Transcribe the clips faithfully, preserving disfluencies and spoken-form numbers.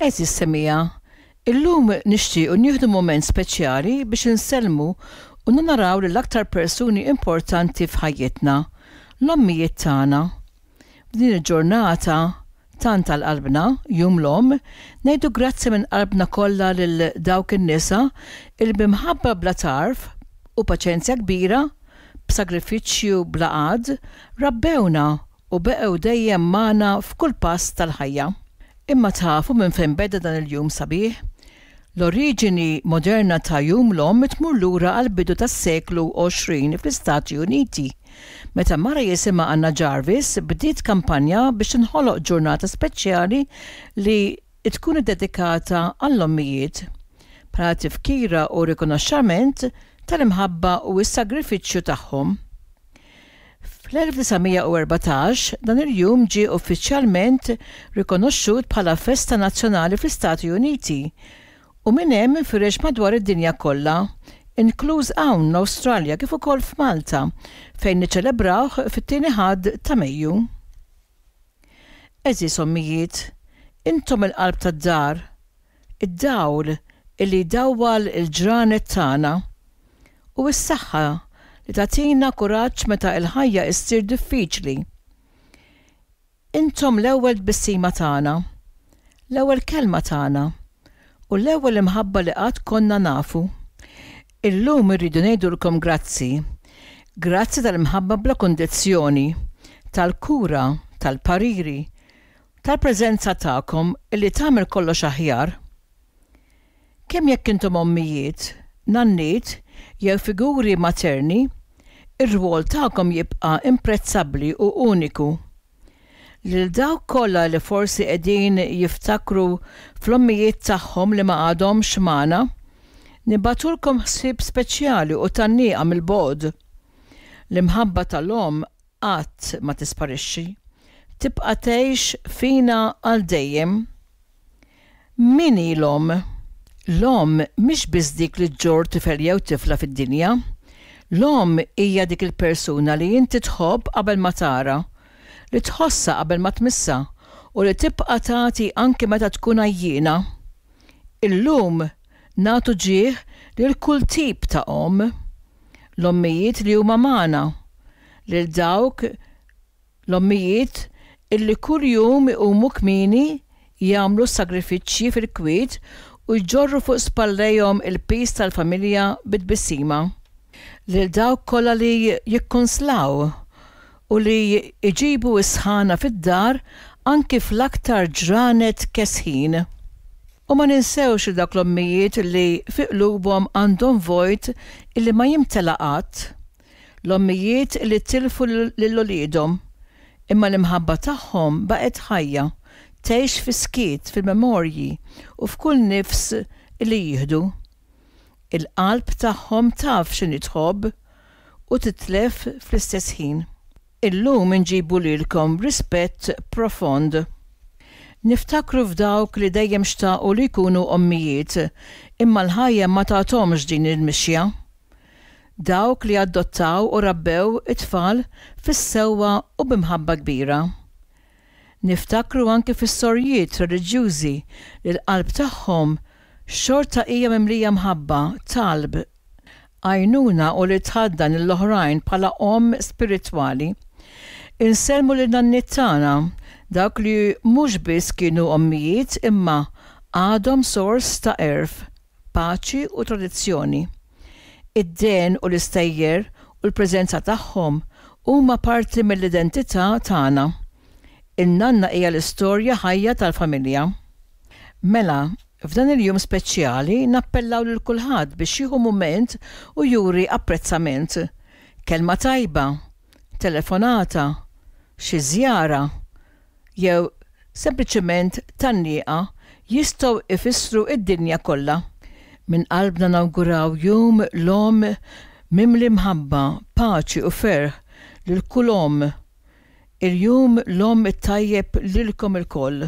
Għeżież semmiegħa, illum nixtiequ nieħdu mument speċjali biex insellmu u naraw lill-aktar persuni importanti f'ħajjitna, l-ommijiet tagħna. F'din il-ġurnata tant għal qalbna, Jum l-Omm, ngħidu grazzi minn qalbna kollha lil dawk in-nisa il b'imħabba bla tarf u paċenzja kbira, b'sagrifiċċju bla għadd, rabbewna u beqgħu dejjem magħna f'kull pass tal-ħajja. Imma tafu minn fejn beda dan il-jum sabiħ? L-oriġini moderna ta' Jum l-Omm tmur lura għal bidu tas-seklu għoxrin fl-Istati Uniti, meta mara jisimha Anna Jarvis bdiet kampanja biex tinħoloq ġurnata speċjali li tkun iddedikata għall-ommijiet, bħala tifkira u rikonoxxament tal-imħabba u s-sagrifiċċju tagħhom. Fl-elf disa' mija u erbatax dan il-jum ġie uffiċjalment rikonoxxut bħala festa nazzjonali fl-Istati Uniti u minn hemm infirex madwar id-dinja kollha, inkluż hawn l-Awstralja kif ukoll f'Malta, fejn niċċelebrawh fit-tieni Ħadd ta' Mejju. Għeżież ommijiet, intom il-qalb tad-dar, id-dawl illi jdawwal il-ġranet tagħna u s-saħħa li tagħtina kuraġġ meta l-ħajja issir diffiċli. Intom l-ewwel tbissima tagħna, l-ewwel kelma tagħna u l-ewwel imħabba li qatt konna nafu. Illum irridu ngħidulkom grazzi. Grazzi tal-imħabba bla kundizzjoni, tal-kura, tal-pariri, tal-preżenza tagħkom illi tagħmel kollox aħjar. Kemm jekk intom ommijiet, nanniet jew figuri materni, ir-rwol tagħkom jibqa' imprezzabbli u uniku. Lil dawk kollha li forsi qegħdin jiftakru fl-ommijiet tagħhom li ma għadhomx magħna, nibagħtulkom ħsieb speċjali u tgħanniqa mill-bogħod. L-imħabba tal-omm qatt ma tisparixxi, tibqa' tgħix fina għal dejjem. Min hi l-omm? L-omm mhix biss dik li ġġorr tifel jew tifla fid-dinja. L-omm hija dik il-persuna li inti tħobb qabel ma tara, li tħossha qabel ma tmissha u li tibqa' tagħti anke meta tkun għajjiena. Illum nagħtu ġieħ lil kull tip ta' omm, l-ommijiet li huma magħna, lil dawk l-ommijiet illi kuljum iqumu kmieni, jagħmlu sagrifiċċji fil-kwiet u jġorru fuq spallejhom il-piż tal-familja bi tbissima. Lil dawk kollha li jikkonslaw u li jġibu s-sħana fid-dar anki fl-aktar ġranet kesħin. U ma ninsewx li dawk l-ommijiet li fi qlubhom għandhom vojt illi ma jimtela qatt. L-ommijiet li tilfu lil uliedhom, imma l-imħabba tagħhom baqgħet ħajja, tgħix fis-skiet, fil-memorji u f'kull nifs li jieħdu. Il-qalb tagħhom taf x'inhi tħobb u titlef fl-istess ħin. Illum inġibu lilkom rispett profond. Niftakru f'dawk li dejjem xtaqu li jkunu ommijiet, imma l-ħajja ma tathomx din il-mixja. Dawk li adottaw u rabbew it-tfal fis-sewwa u b'imħabba kbira. Niftakru anke fis-sorjiet reliġjużi li l-qalb tagħhom xorta hija mimlija mħabba, talb, għajnuna u li tħaddan lill-oħrajn bħala omm spiritwali. Insellmu lil nanniet tagħna, dawk li mhux biss kienu ommijiet imma għadhom sors ta' għerf, paċi u tradizzjoni. Id-dehen u l-istejjer u l-preżenza tagħhom huma parti mill-identità tagħna. In-nanna hija l-istorja ħajja tal-familja. Mela, f'dan il-jum speċjali nappellaw lil kulħadd biex jieħu mument u juri apprezzament. Kelma tajba, telefonata, xi żjara, jew sempliċement tgħanniqa jistgħu ifissru id-dinja kollha. Minn qalbna nawguraw jum l-omm mimli mħabba, paċi u ferħ lil kull omm. Il-jum l-omm it-tajjeb lilkom ilkoll.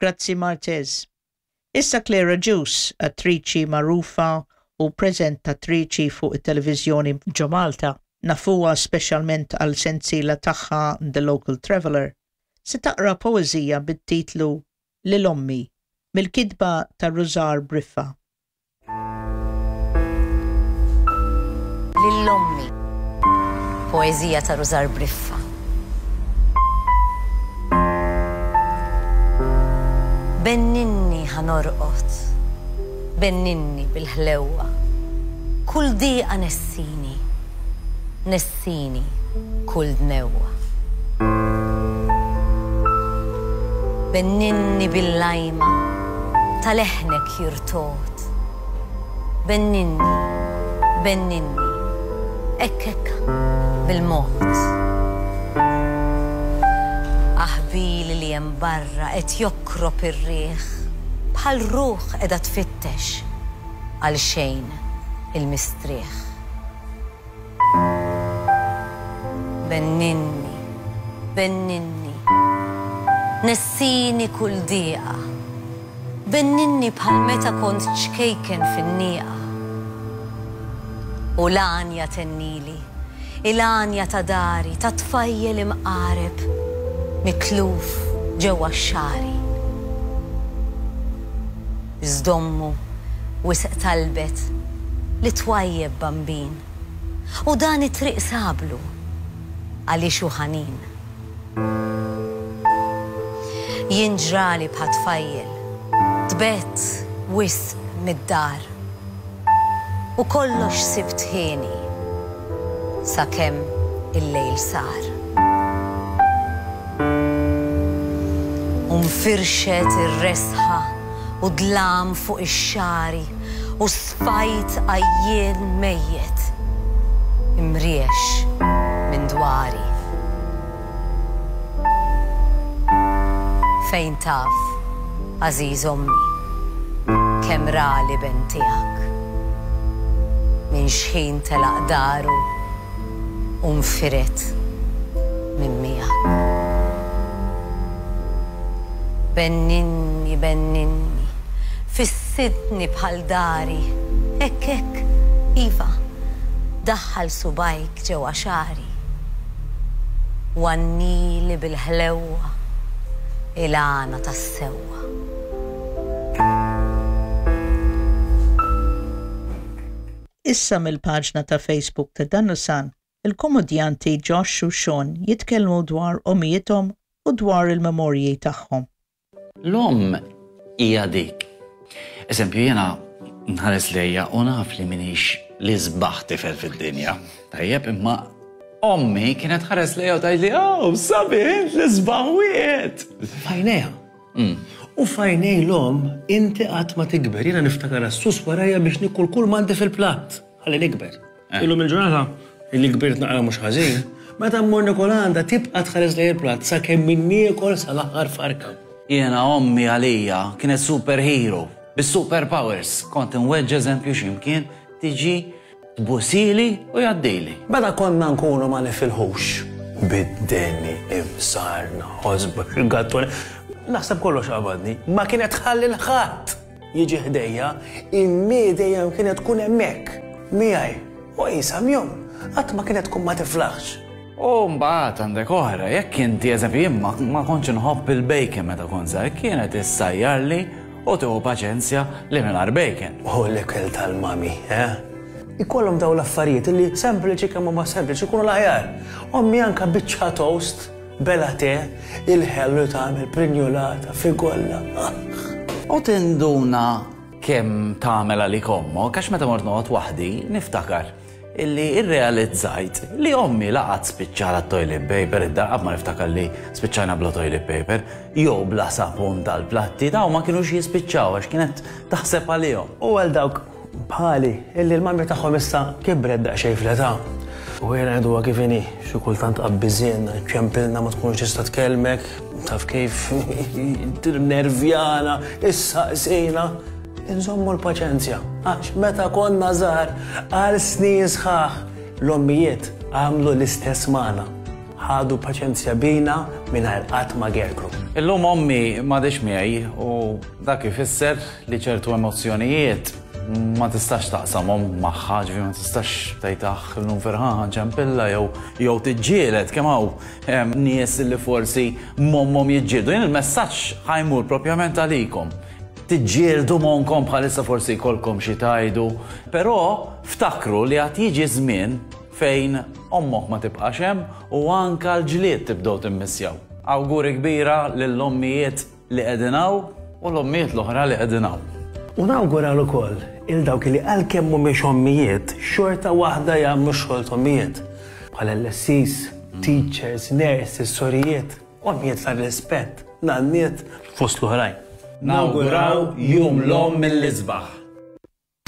Grazzi, Martez. Issa Claire Agius, attriċi magħrufa u preżentatriċi fuq it-televiżjoni ġo Malta, nafuha speċjalment għal sensiela tagħha The Local Traveller, se taqra poeżija bit-titlu Lil Ommi mill-kitba ta' Rużar Briffa. Lil Ommi, poeżija ta' Rużar Briffa. Benninni ħa norqod, benninni bil-ħlewwa, kull diqa nessini, nessini kull dnewwa. Benninni bil-lajma, ta' leħnek jirtod, benninni, benninni, hekk hekk bil-mod. Aħbili li hemm barra qed jokrob ir-riħ, bħal ruħ qiegħda tfittex għal xejn il-mistrieħ. Benninni, benninni, nessini kull diqa, benninni bħal meta kont ċkejken fin-nieqa. U l-għanja tennili, il-għanja ta' dari, ta' tfajjel imqareb, mitluf ġewwa x-xagħri. Iżdommu wisq talbet li twajjeb bambin, u dan it-triq sablu għaliex hu ħanin. Jien ġrali bħal tfajjel, tbett wisq mid-dar, u kollox sibt ħieni sakemm il-lejl sar. U nfirxet ir-resħa u dlam fuq ix-xagħri u sfajt għajjien mejjet imriex minn dwari. Fejn taf, għażiż ommi, kemm ra l-iben tiegħek minn xħin telaq daru u nfiret minn miegħek. Benninni, benninni, fissidni bħal dari, hekk hekk, iva, daħħal subajk ġewwa xagħri. Wannili bil-ħlewwa il-għana tas-sewwa. Issa mill-paġna ta' Facebook ta' Danusan, il-komedjanti Josh u Sean jitkellmu dwar omijiethom u dwar il-memorji tagħhom. L-omm hija dik. Eżempju, jiena nħares lejja u naf li minix li sbaħ tifel fid-dinja. Tajjeb, imma ommi kienet ħares lejja u tgħidli, "Oh, sabiħ int li sbaħ wieħed." Fajnejha. U fajnej l-omm inti qatt ma tikber. Jiena niftakar s-sus warajja biex nikul kull m'għandi fil-platt. Ħalli nikber. Illum il-ġurnata illi kbirt naqra mhux ħażin, meta mmur nikol għandha tibqa' tħares lejn il-platt sakemm min niekol sal-aħħar farka. Jiena ommi għalija kienet superhero, bis-super powers. Kont inweġġ eżempju x'imkien tiġi tbusili u jgħaddili. Meta konna nkunu ma nifilħux, bid-deni, imsarna, ħosba, il-gattoni, naħseb kollox qabadni, ma kienet tħalli l-ħadd jiġi ħdejja, immi dejjem kienet tkun hemmhekk miegħi u qisha jum, qatt ma kienet tkun ma tiflaħx. U mbagħad għandek oħra, jekk inti eżempju jien ma ma kontx inħobb il-bacon meta kont żgħir, kienet issajjarli u tieħu paċenzja li mingħajr bacon. U l-ikel tal-mami, eh? Ikollhom daw l-affarijiet li sempliċi kemm huma sempliċi jkunu l-aħjar. Ommi anka biċċa toast, bela te, il-ħellu tagħmel prinjolata, figolla. U tinduna kemm tagħmel għalik ommok, għax meta mort noqgħod waħdi niftakar illi irrealizzajt li ommi laqat spiċċala toilet paper, id-darqab ma niftakar li spiċċajna bla toilet paper, jew bla sapun tal-platti, daw ma kienux jispiċċaw għax kienet taħseb għalihom. U għal dawk bħali illi l-mami tagħhom issa kibret daqsxejn fl-età. U jiena ngħiduha kif inhi, xi kultant qabbiżielna, ċempilna ma tkunx tista' tkellmek, taf kif nervjana, issaqsina. Inżommu l-paċenzja, għax meta konna żgħar għal snin sħaħ l-ommijiet għamlu l-istess magħna. Ħadu paċenzja bina mingħajr qatt ma gergru. Illum ommi m'għadix miegħi u dak ifisser li ċertu emozzjonijiet Ma tistax taqsamhom magħha, ġifieri ma tistax tgħid, "Aħ, illum ferħan ċempilla," jew jew tiġġieled kemm hawn nies li forsi m'ommhom jiġġieldu. Jien il-messaġġ ħa jmur propjament għalikom. Tiġġieldu m'ommkom bħalissa, forsi jkollkom xi tgħidu, però ftakru li għad jiġi żmien fejn ommok ma tibqax hemm u anka l-ġlied tibdew timmissjaw. Awguri kbira lill-ommijiet li qegħdin hawn u l-ommijiet l-oħra li qegħdin hawn. U nawgural ukoll lil dawk li għalkemm mhumiex ommijiet, xorta waħda jagħmlu xogħol ommijiet. Bħal L S Es, teachers, nurses, sorijiet, ommijiet tar-rispett, nanniet, fost l-oħrajn. Nawguraw Jum l-Omm mill-isbaħ.